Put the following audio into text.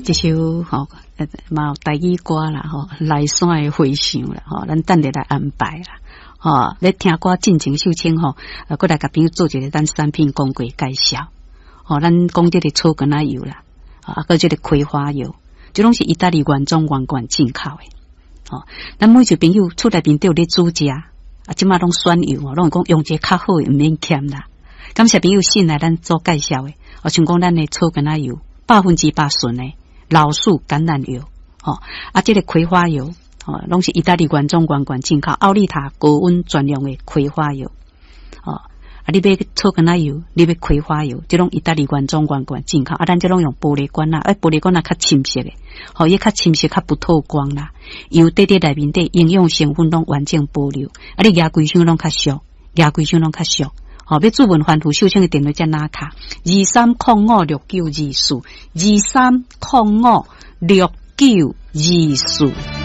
這首吼嘛有台語歌啦吼，來山的回想啦吼，咱等下來安排啦。吼，咧聽歌進前秀清吼，閣來共朋友做一個咱產品廣告介紹。吼，咱講這個草根仔油啦，啊，閣這個葵花油，這攏是意大利原裝原罐進口的。吼，咱每一個朋友厝內面都有咧煮食，啊，這馬攏選油，攏會講用這個較好的，毋免儉啦。感謝朋友信賴咱做介紹的，哦，像講咱的草根仔油，100%純的老樹橄欖油，吼，啊，這個葵花油，吼，攏是意大利原裝原罐進口，奧利塔高溫專用的葵花油，吼，啊，你買草根仔油，你買葵花油，這攏意大利原裝原罐進口，啊，咱這攏用玻璃罐仔，欸，玻璃罐仔較深色的，吼，伊較深色，較不透光啦，油底底內面底營養成分攏完整保留，啊，你舉規箱攏較俗，舉規箱攏較俗。吼，欲諮詢番富秀清的電話遮拿卡，23056924，23056924。